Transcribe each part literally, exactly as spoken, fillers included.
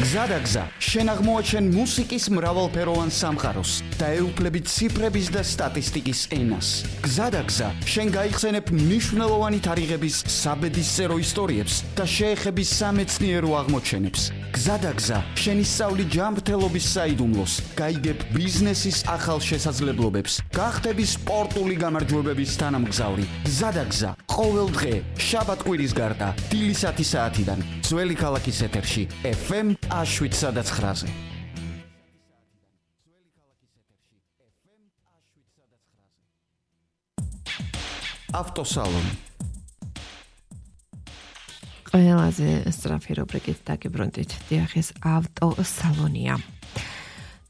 გზადაგზა, შენ აღმოაჩენ მუსიკის მრავალფეროვან სამყაროს და ეუფლებით ციფრების და სტატისტიკის ენას. გზადაგზა, შენ გაიხსენებ მნიშვნელოვანი თარიღების საბედისწერო ისტორიებს და შეეხები სამეცნიერო აღმოჩენებს. გზადაგზა, შენ ისწავლი ჯანმრთელობის საიდუმლოს, გაიგებ ბიზნესის ახალ შესაძლებლობებს, გახდები სპორტული გამარჯვებების თანამგზავრი. გზადაგზა, ყოველ დღე, შაბათ-კვირის გარდა, დილისათი საათიდან, ძველი ქალაქის ეთერში, ეფ ემ შვიდ სადაც ხრაზე. ავტოსალონი. ყველაზე სწრაფი რუბრიკით დაგიბრუნდით. დიახ, ეს ავტოსალონია.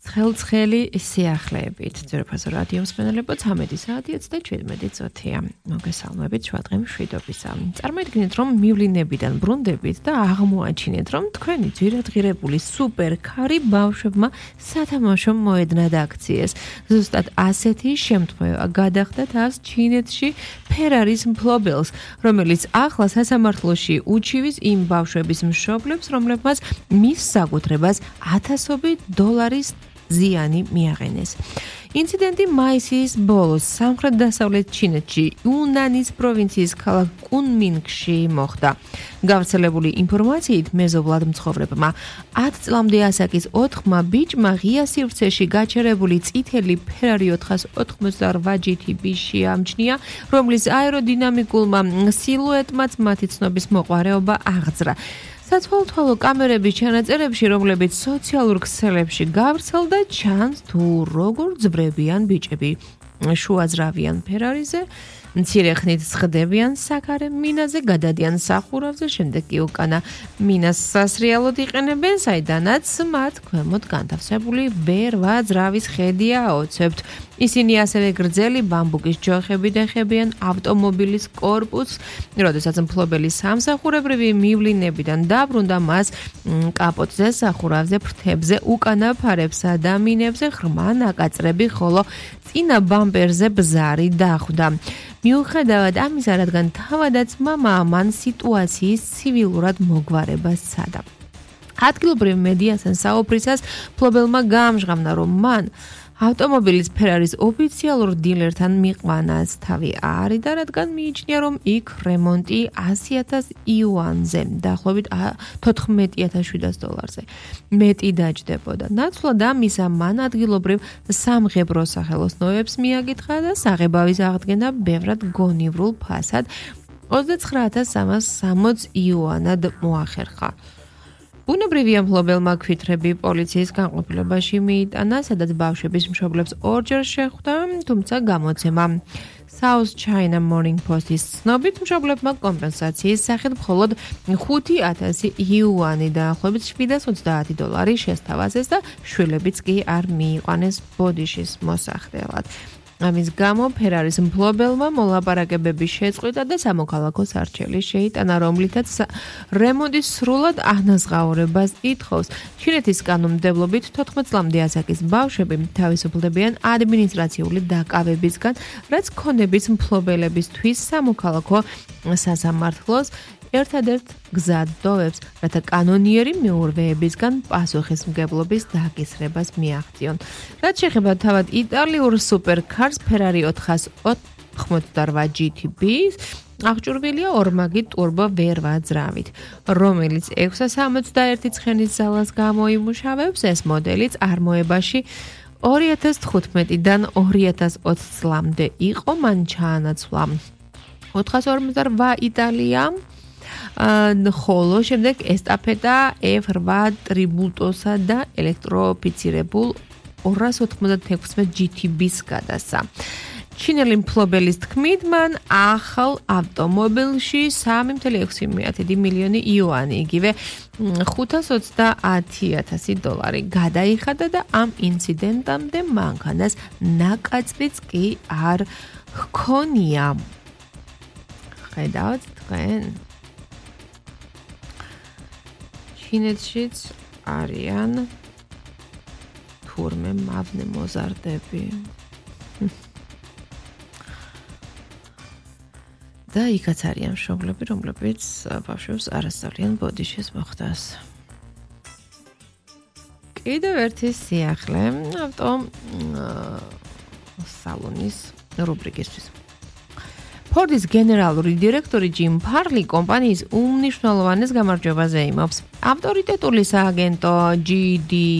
ცხელ-ცხელი სიახლეებით. ძვირფასო რადიო მსმენელებო, ცამეტი საათიაც და შვიდმეტი წუთია. მოგესალმებით შუა დღე მშვიდობისა. წარმოიდგინეთ, რომ მივლინებიდან ბრუნდებით და აღმოაჩინეთ, რომ თქვენი ძვირადღირებული სუპერკარი ბავშვებმა სათამაშო მოედნად აქციეს. ზუსტად ასეთი შემთხვევა გადახდათ ას ჩინეთში ფერარის მფლობელს, რომელიც ახლა სასამართლოში უჩივის იმ ბავშვების მშობლებს, რომლებმაც მის საკუთრებას ათასობით დოლარის ზიანი მიაყენეს. ინციდენტი მაისის ბოლოს სამხრეთ-დასავლეთ ჩინეთში, იუნანის პროვინციის ქალაქ კუნმინგში მოხდა. გავრცელებული ინფორმაციით, მეზობლად მცხოვრებმა ათ წლამდე ასაკის ოთხმა ბიჭმა ღია სივრცეში გაჩერებული წითელი ფერარი ოთხას ოთხმოცდაოთხ ჯი თი ბი შეამჩნია, რომლის აეროდინამიკულმა სილუეტმაც მათი ცნობის მოყვარეობა აღძრა. საცვალთვალო კამერების ჩანაწერებში, რომლებიც სოციალურ ქსელებში გავრცელდა, ჩანს თუ როგორ ძვრებიან ბიჭები შუაზრავიან ფერარიზე, მცირე ხნით სხდებიან საქარე მინაზე, გადადიან სახურავზე, შემდეგ კი უკანა მინას სასრიალოდ იყენებენ, საიდანაც მათ ქვემოთ განთავსებული ვერვა ძრავის ხედია აოცებთ. ისინი ასევე გრძელი ბამბუკის ჯოხებით ეხებიან ავტომობილის კორპუსს, როდესაც მფლობელი სამსახურებრივი მივლინებიდან დაბრუნდა, მას კაპოტზე, სახურავზე, ფრთებზე, უკანა ფარებსა და მინებზე ღრმა ნაკაწრები, ხოლო წინა ბამპერზე ბზარი დახვდა. მიუხედავად ამისა, რადგან თავადაც მამაა მან სიტუაციის ცივილურად მოგვარება სცადა. ადგილობრივ მედიასთან საუბრისას მფლობელმა გაამჟღავნა, რომ მან ავტომობილის ფერარის ოფიციალურ დილერთან მიყვანას თავი არიდა, რადგან მიიჩნია, რომ იქ რემონტი ასი ათასი იუანზე, დაახლოებით თოთხმეტი ათას შვიდას დოლარზე მეტი დაჯდებოდა. ნაცვლად ამისა, მან ადგილობრივ სამღებრო სახელოსნოებს მიაკითხა და საღებავის აღდგენა ბევრად გონივრულ ფასად ოცდაცხრა ათას სამას სამოცდ იუანად მოახერხა. ბუნებრივია, მფლობელმა ქვითრები პოლიციის განყოფილებაში მიიტანა, სადაც ბავშვების მშობლებს ორჯერ შეხვდა, თუმცა გამოცემა South China Morning Post-ის ცნობით, მშობლებმა კომპენსაციის სახით მხოლოდ ხუთი ათასი იუანი დაახლოებით შვიდას ოცდაათი დოლარი შესთავაზეს და შვილებიც კი არ მიიყვანეს ბოდიშის მოსახდელად. ამის გამო ფერარის მფლობელმა მოლაპარაკებები შეწყვიტა და სამოქალაქო სარჩელი შეიტანა, რომლითაც რემონტის სრულად ანაზღაურებას ითხოვს. ჩინეთის კანონმდებლობით თოთხმეტ წლამდე ასაკის ბავშვები თავისუფლდებიან ადმინისტრაციული დაკავებისგან, რაც ქონების მფლობელებისთვის სამოქალაქო სასამართლოს ერთადერთ გზად დოვებს, რათა კანონიერი მეურვეებისგან პასუხისმგებლობის დაკისრებას მიაღწიონ. რაც შეეხება თავად იტალიურ სუპერკარს ფერარი ოთხას ოთხმოცდაოთხ ჯი თი ბი-ს, აღჭურვილია ორმაგი ტურბო ვერვა ძრავით, რომელიც ექვსას სამოცდაერთი ცხენის ძალას გამოიმუშავებს. ეს მოდელი წარმოებაში ორი ათას თხუთმეტიდან ორი ათას ოცი წლამდე იყო, მან ჩაანაცვლა ოთხას ორმოცდაოთხ იტალიამ, ხოლო შემდეგ ესტაფეტა ეფ ოთხ ტრიბუტოსა და ელექტროფიცირებულ ორას ოთხმოცდაექვსმეტ ჯი თი ბი-ს გადასცა. ჩინელი მფლობელის თქმით, მან ახალ ავტომობილში სამი ათეული ექვსი მილიონი იუანი, იგივე ხუთას ოცდაათი ათასი დოლარი გადაიხადა და ამ ინციდენტამდე მანქანას ნაკაწრიც კი არ ჰქონია. ხედავთ თქვენ? ჩინეთშიც არიან თურმე მავნე მოზარდები. და იქაც არიან მშობლები, რომლებიც ბავშვებს არ ასწავლიან ბოდიშის მოხდას. კიდევ ერთი სიახლე ავტო სალონის რუბრიკისთვის. ფორდის გენერალური დირექტორი ჯიმ ფარლი კომპანიის უმნიშვნელოვანეს გამარჯვებაზე იმობს. ავტორიტეტული სააგენტო ჯი დი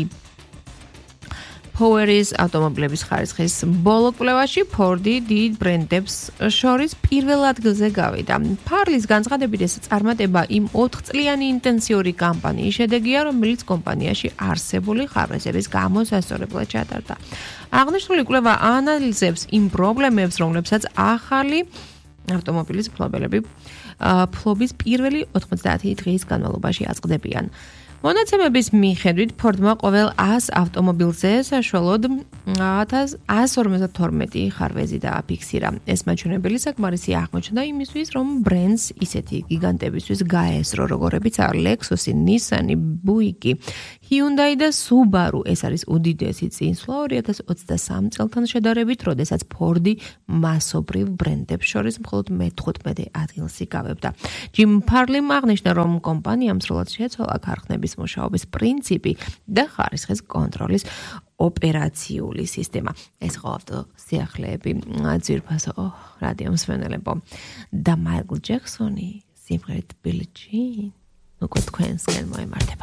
Poweris ავტომობილების ხარისხის ბოლო კვლევაში ფორდი დიდ ბრენდებს შორის პირველ ადგილზე გავიდა. ფარლის განცხადებით ეს წარმატება იმ ოთხწლიანი ინტენსიური კამპანიის შედეგია, რომელიც კომპანიაში არსებული ხარვეზების გამოსასწორებლად ჩატარდა. აღნიშნული კვლევა ანალიზებს იმ პრობლემებს, რომლებსაც ახალი ავტომობილის მფლობელები ფლობის პირველი ოთხმოცდაათი დღის განმავლობაში აწყდებიან. მონაცემების მიხედვით ფორდმა ყოველ ას ავტომობილზე საშუალოდ ათას ორმოცდათორმეტი ხარვეზი დააფიქსირა. ეს მაჩვენებელი საკმარისი აღმოჩნდა იმისთვის, რომ ბრენდს ისეთი გიგანტებისთვის გაესწრო, როგორებიც are Lexus, Nissan, Buick, Hyundai და Subaru. ეს არის უდიდესი წინსვლა ორი ათას ოცდასამი წელთან შედარებით, როდესაც ფორდი მასობრივ ბრენდებს შორის მხოლოდ მეთხუთმეტე ადგილს იკავებდა. ჯიმ ფარლიმ აღნიშნა, რომ კომპანიამ სრულად შეცვალა ქარხნების მუშაობის პრინციპი და ხარისხის კონტროლის ოპერაციული სისტემა. ეს ხო ავტო სიახლეები ძვირფასო რადიო მსმენელებო და მაიკლ ჯექსონი სიმღერით ბილი ჯინ უკვე თქვენსკენ მოემართება.